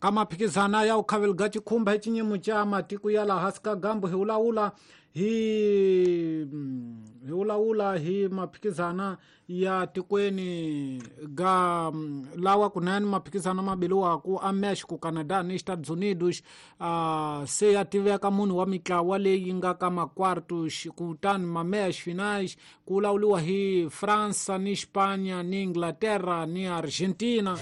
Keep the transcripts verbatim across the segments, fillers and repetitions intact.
Ka maphikizana ya ukhaveli ga chikhumba hi chinyimo cha matiko ya laha hansi ka gambu hi vulavula hi hi vulavula hi maphikizana ya tikweni ga lawa kunene maphikizana mabiliwaku a Mexico, Canada ni Estados Unidos. Uh, se ya tiveka munhu wa mitlawa leyi nga ka makwartos kutani mameias finais ku vulavuriwa hi Fransa ni Spanya ni Inglaterra ni Argentina.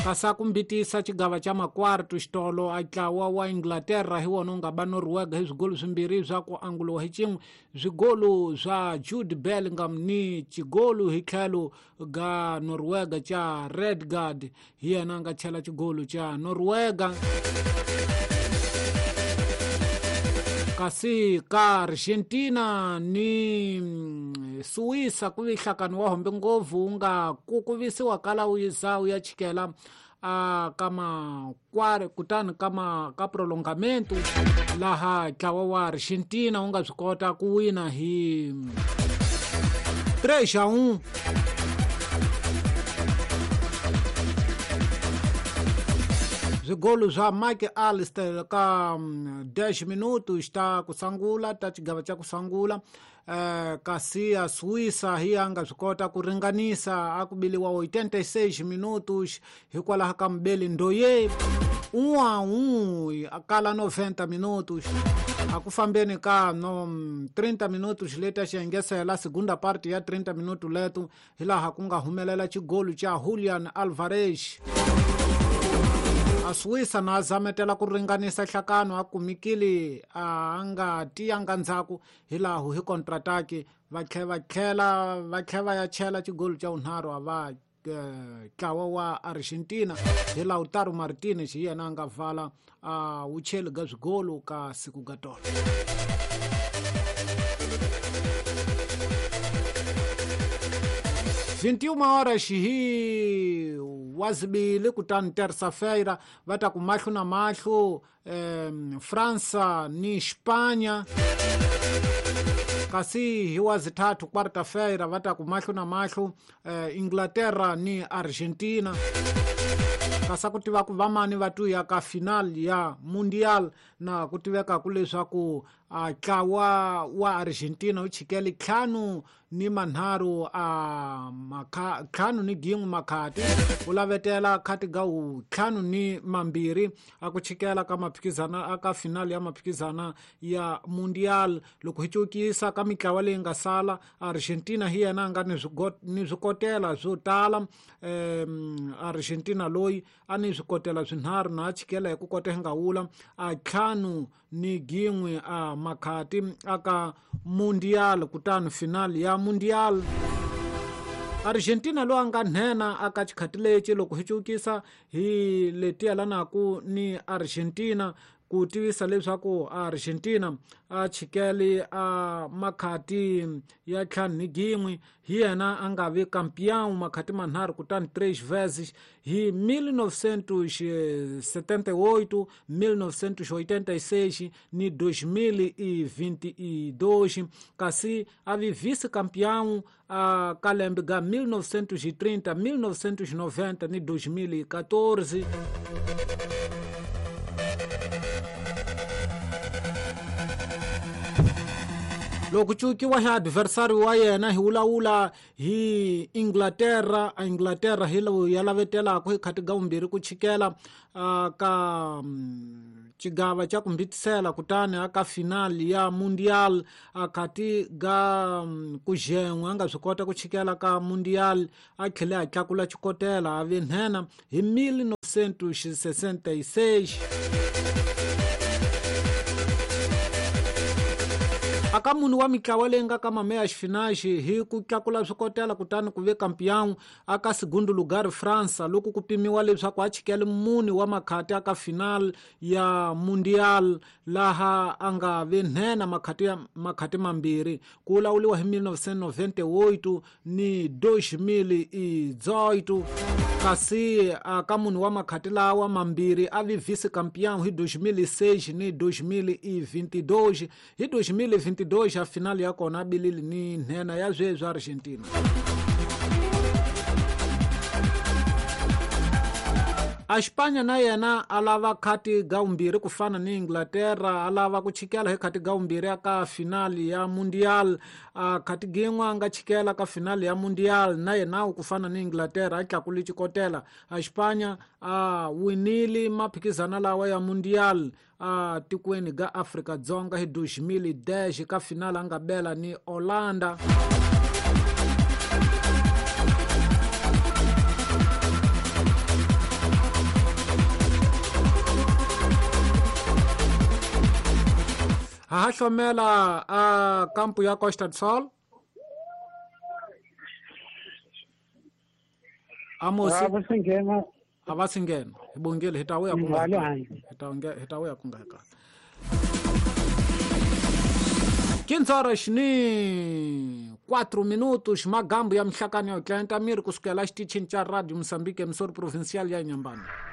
Kasi a ku mbitisa xigava xa makwarto xitolo a ntlawa wa Inglaterra hi wona wu nga ba Norwega hi swigolo swimbirhi swa ku anguliwa hi xin'we, swigolo swa Jude Bellingham ni xigolo hi tlhelo ga Norwega xa Redgard, hi yena a nga chela xigolo xa Norwega. Kasi ka Argentina ni Suíça ku vi nhlakano wa hombe ngopfu wu nga kukuvisiwa kala wu yiza wu ya chikela a ka makware kutani ka ma ka prolongamento laha ntlawa wa Argentina wu nga swi kota ku wina hi três a um. Swigolo swa Mike Alister ka dez minutos ta ku sungula ta xigava xa ku sungula. Uh, kasi a Suíça hi a nga swi kota ku ringanisa a ku biliwa oitenta e seis minutos hikwalaho ka Mbeli Ndoye um a um a kala noventa minutos. A ku fambeni ka no trinta minutos leta xi engesela segunda parte ya trinta minutos leto hi laha ku nga humelela xigolo xa Julian Alvarez. A Suíça na zametela ku ringanisa nhlakano a kumikile a nga tiyanga ndzhaku hi laha hi contraataque va tlhela va tlhela va tlhela va ya chela xigolo xa vunharhu a va ntlawa wa Argentina hi Lautaro Martinez hi yena a nga vala a wu cheli ga swigolo ka siku ga tolo. vinte e uma horas hi wazibili kutani terça-feira va ta ku mahlo na mahlo eh, França ni Espanha. Kasi hi wazithathu quarta-feira va ta ku mahlo na mahlo eh, Inglaterra ni Argentina. Kasi ku tiva ku vamani va tuya ka final ya Mundial na ku tiveka ku leswaku a ntlawa wa Argentina wu chikele ntlhanu ni manharhu a makha ntlhanu ni gin'we makhati wu lavetela khati ga wu ntlhanu ni mambirhi a ku chikela ka maphikizana a ka final ya maphikizana ya Mundial. Loko hi cukisa ka mitlawa leyi nga sala, Argentina hi yena a nga ni ni swikotela swo tala. um, Argentina loyi a ni swikotela swinharhu na a chikela hi ku kota hi nga wula a ntlhanu ni gin'we a makhati aka Mundial kutani final ya Mundial. Argentina loyi a nga nhenha aka xikhati lexi loko hi cukisa hi leti yelanaku ni Argentina ku tivisa leswaku Argentina a chikele a makhati ya ntlhanu ni gin'we hi yena a nga vi campeão makhati manharhu kutani três vezes hi mil novecentos e setenta e oito, mil novecentos e oitenta e seis ni dois mil e vinte e dois. Kasi a vi vice-campeão a ka lembe ga mil novecentos e trinta, mil novecentos e noventa ni dois mil e quatorze. Loko cukiwa hi adversário wa yena hi vulavula hi Inglaterra. A Inglaterra hi lowu ya lavetelaka hi khati ga vumbirhi ku chikela ka xigava xa ku mbitisela kutani aka final ya Mundial a khati ga ku xen'we a nga swi kota ku chikela ka Mundial a tlhele a tlakula xikotela a vi nhenha hi mil novecentos e sessenta e seis. Aka munhu wa mitlawa leyi nga ka mameias finais hi ku tlakula swikotela kutani ku ve campeão aka segundo lugar França loko ku pimiwa leswaku a chikele mune wa makhati aka final ya Mundial laha a nga ve nhenha makhati ya makhati mambirhi ku vulavuriwa hi mil novecentos e noventa e oito ni dois mil e dezoito. Kasi aka munhu wa makhati lawa mambirhi a vi vice-campeão hi dois mil e seis ni dois mil e vinte e dois. Hi dois mil e vinte e dois a final ya kona a bilile ni nhenha ya sweswi Argentina. A Espanha na yena a lava khati ga vumbirhi ku fana ni Inglaterra, a lava ku chikela hi khati ga vumbirhi ka finali ya Mundial. A khati gin'we a nga chikela ka finali ya Mundial na yena ku fana ni Inglaterra a tlakule xikotela. A Espanha a winile maphikizana lawa ya Mundial a tikweni ga Afrika Dzonga hi dois mil e dez ka finali a nga bela ni Holanda. Ha hlomela a kampu ya Costa do Sol. Amosi a va si nghena hi bongile hi ta vuya ku nga hi ta hi ta vuya ku nga ka quinze horas ni quatro minutos magambo ya mihlakani ya tlenta miri kusukela xitichini xa Radio Moçambique emissora provincial ya Inhambane.